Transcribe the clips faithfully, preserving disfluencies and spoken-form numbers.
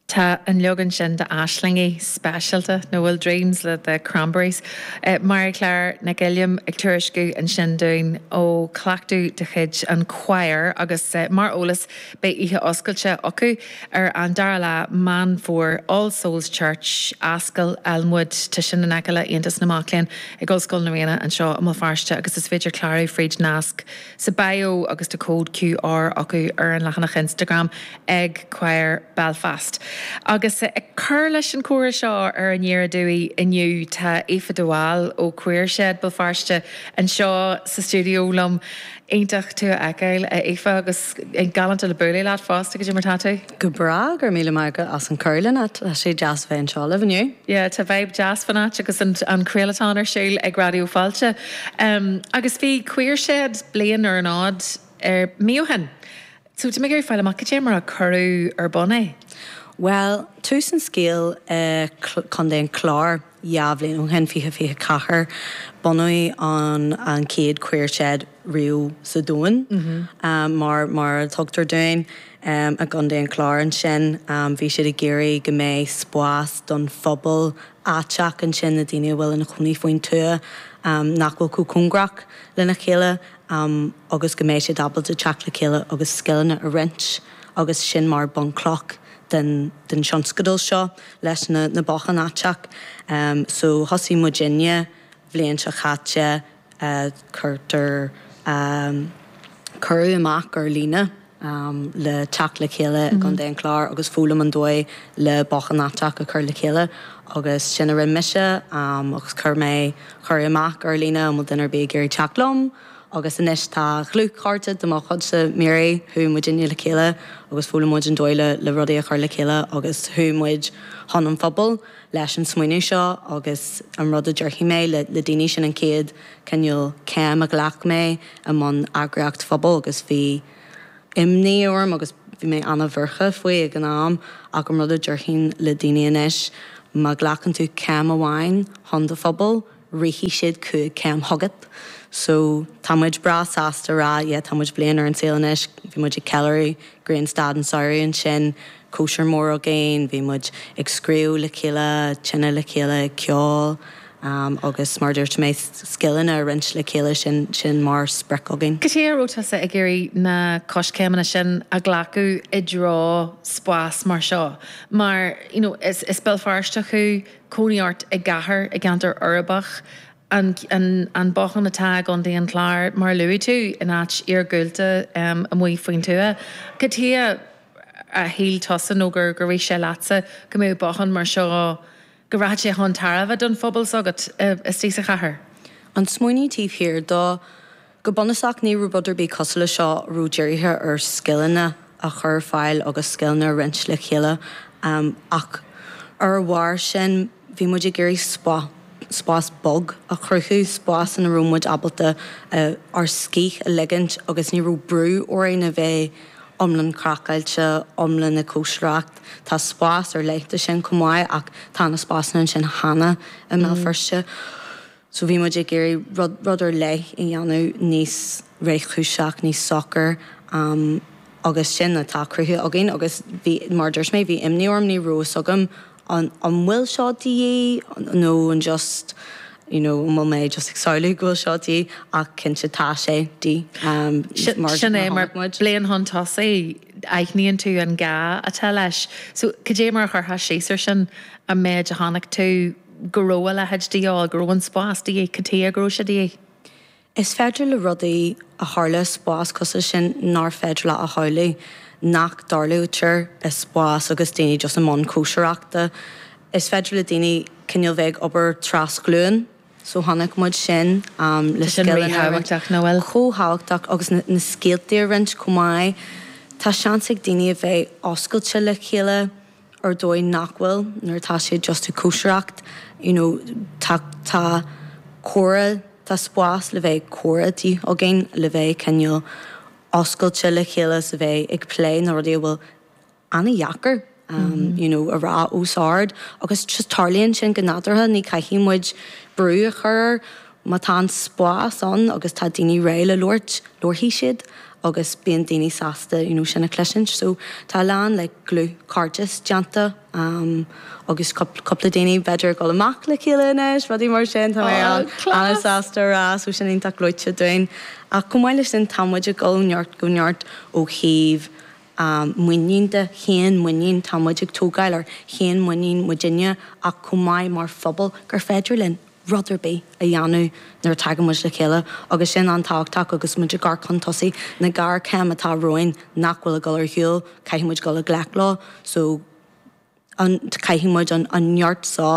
Tá an leagan sin d'Aislingí speisialta nó bhfuil Dreams le The Cranberries. Uh, Marie-Claire Nic Uilliam ag tuairisciú ansin dúinn ó cleachtadh de chuid an choir agus uh, mar eolas beidh oíche oscailte acu ar an dara lá Meán Fómhair All Souls Church Ascaill Elmwood tá sin in aice le Aontas na Mac Léinn ag Ollscoil na Ríona anseo i mBéal Feirste agus is féidir clárú fríd nasc sa bio agus tá cód QR acu ar an leathanach Instagram ag Choir Belfast. Agus ag cur leis an chomhrá seo ar Aniar Aduaidh inniu tá Aoife de Bhál ó Queer Shed Béal Feirste anseo sa stiúideo liom iontach tú a fheiceáil a Aoife agus galánta le bualadh leat fosta cad é mar tá tú? Go breá gur míle maith as an cuireadh tá sé deas bheith anseo libh inniu? Yeah, tá vibe deas fan áit agus an, an craolachán ar siúl ag Raidió Fáilte. Um, agus bhí Queer Shed bliain ar an fhód ar mí ó shin. So tá mé ag fáil amach cad é mar a cuireadh ar bun é. Well, tús an scéil Contae an Chláir dhá bhliain ó shin fiche fiche ceathair bunaíodh an an chéad Queer Shed riamh sa domhan mm -hmm. um, mar mar tugtar dúinn um, i gContae an Chláir ansin um, bhí siad ag iarraidh go mbeidh spás don phobal áiteach ansin na daoine a bhfuil ina gcónaí faoin tuath um, nach bhfuil chomh cóngarach lena chéile um, agus go mbeidh siad ábalta teacht le chéile agus scileanna a roinnt agus sin mar bunchloch den, den tionscadal seo leis na, na botháin aiteach. Um, so thosaigh muidinne bliain seo chaite uh, cuirtear um, cuireadh amach ar líne um, le teacht le chéile mm -hmm. Contae an Chláir agus foghlaim an dóigh le bothán aiteach a chur le chéile agus sin a rinne mise um, agus chuir mé cuireadh amach ar líne an bhfuil duine ar bith ag iarraidh teacht liom. agus anois tá dlúthchairde de mo chuidse Mary chuaigh muidinne le chéile agus foghlaim muid an dóigh le le rudaí a chur le chéile agus chuaigh muid chun an phobail leis an smaoineamh seo agus an rud a déarfaidh mé le, le daoine sin an chéad cineál céim a ghlac mé i mbun eagraíocht phobail agus bhí imní orm agus bhí mé an-bhuartha faoi ag an am ach an rud a déarfainn le daoine anois má ghlacann tú céim amháin chun do phobal, rachaidh siad cúig céim chugat. So tá muid breá sásta rá yeah, tá muid bliain ar an saol anois, bhí muid ag ceiliúradh Grianstad an samhradh ansin, cóisir mór againn, bhí muid ag scríobh le chéile, tine le chéile, ceol, um, agus mar dúirt mé scileanna a roinnt le chéile sin sin mar sprioc againn. Cad chuige a raibh tusa ag iarraidh na coiscéimeanna sin a ghlacadh i dtreo spás mar seo. Mar you know, is, is Béal Feirsteach thú cónaí ort i gcathair i gceantar uirbeach, an, an, an bothán atá i gContae an Chláir mar luaigh tú in áit iargúlta um, amuigh faoin tuath. Cad chuige a shíl tusa nó gur gur rith sé leatsa go mbeadh bothán mar seo go raibh sé chun tairbhe don phobal s'agat istigh sa chathair. An smaoineamh taobh thiar dó go bunúsach ní raibh rud ar bith cosúil le seo raibh dírithe ar scileanna a chur fáil agus scileanna a roinnt le chéile um, ach ar bharr sin bhí muid ag iarraidh spá spás bog a chruthú spás ina raibh muid ábalta uh, ár scíth a ligint agus ní raibh brú orainn a bheith iomlán craiceáilte iomlán na cóisireacht Tá spás ar leith sin chomh maith ach tá na spásanna sin cheana i mBéal Feirste. So bhí muid ag iarraidh rud, rud ar leith a dhéanamh níos réchúiseach níos socair um, agus sin atá cruthaithe againn agus bhí mar dúirt mé bhí imní orm ní raibh a fhios agam an an bhfuil seo de dhíth nó an just you know, an bhfuil mé just ag samhlú go bhfuil seo de dhíth ach cinnte tá sé de dhíth um, mar sin é mar bliain chun tosaigh aithníonn tú an gá atá leis. So cad é mar a chuirfeá síos air sin an méid a chonaic tú go raibh a leithéid de dhíth go raibh an spás de dhíth cad chuige go raibh sé de dhíth. Is féidir le rudaí a tharla spás cosúil sin nár féidir le a shamhlú nach dtarlaítear i spás agus daoine just i mbun cóisireachta. Is féidir le daoine cineál bheith obair trasghlúin, so chonaic muid sin um, le sin ríthábhachtach nach bhfuil. Chomh tábhachtach agus na, na scéalta a roinnt chomh maith. Tá seans ag daoine a bheith oscailte le chéile ar dóigh nach bhfuil nuair atá siad just ag cóisireacht, you know, tá tá comhrá tá spás le bheith comhrá againn le bheith cineál oscailte le chéile sa bheith ag plé na rudaí a bhfuil an-deacair. Um, mm -hmm. you know, a rá os ard agus just tarlaíonn sin go nádúrtha ní caithfidh muid brú a chur má tá an spás ann agus tá daoine réidh le labhairt labharfaidh siad agus bíonn daoine sásta you know, sin a chloisint, so tá lán le dlúthchairdeas déanta um, agus cúpla daoine b'fhéidir dul amach le chéile anois, rudaí mar sin tá an-sásta rá so sin iontach gleoite dúinn. Ach chomh maith leis sin tá muid ag dul neart go neart ó thaobh um, muinín de féin muinín tá muid ag tógáil ar féin muinín muidinne ach chomh maith mar phobal gur féidir linn rud ar bith a dhéanamh nuair a thagann muid le chéile agus sin an-tábhachtach agus muid ag amharc chun tosaigh na géarchéim atá romhainn nach bhfuil ag dul ar shiúl caithfidh muid dul i ngleic leo so an caithfidh muid an an neart seo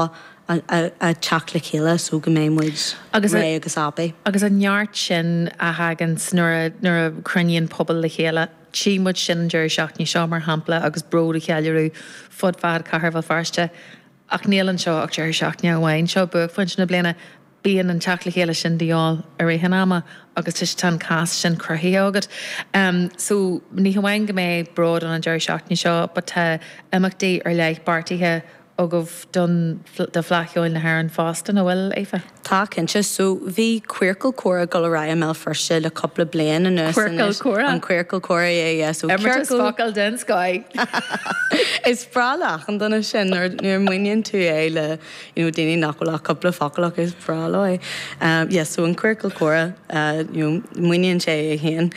a teacht le chéile so go mbeidh muid Agus réidh agus abaí. Agus an neart sin a thagann nuair nuair a chruinníonn pobal le chéile. Tchí muid sin an deireadh seachtaine seo mar shampla agus bród á cheiliúradh fud fad chathair Bhéal Feirste. Ach níl anseo ach deireadh seachtaine amháin seo buaicphointe na bliana bíonn an teacht le chéile sin de dhíobháil i rith an ama agus tá an cás sin cruthaithe agat. Um, so ní hamháin go mbeidh bród an an deireadh seachtaine seo, but tá imeachtaí ar leith beartaithe agaibh don do Fleadh Cheoil na hÉireann fosta an bhfuil Aoife? Tá cinnte so bhí Queercal Comhrá ag dul ar aghaidh i mBéal Feirste le cúpla bliain anuas Queercal Comhrá? An Queercal Comhrá é so Imeartas focal den scoth. Is breá le achan duine sin nuair nuair mhíníonn tú é le you know, daoine nach bhfuil ach cúpla focal acu is breá leo é. Um, yes, so an Queercal Comhrá uh, you know, míníonn sé é féin.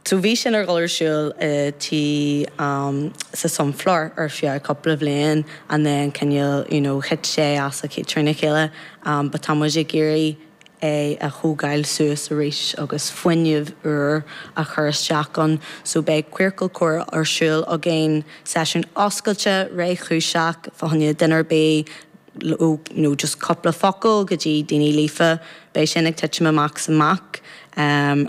So bhí sin ar dul ar siúl uh, tí um, sa Sunflower ar feadh cúpla bliain and then cineál you know, thit sé as a trína chéile um, but tá muid ag iarraidh é a thógáil suas arís agus fuinneamh úr a chur isteach ann, so beidh Queercal Comhrá ar siúl againn seisiún oscailte réchúiseach fá choinne duine ar bith ó nó just cúpla focal go dtí daoine líofa beidh sin ag titim amach amach um,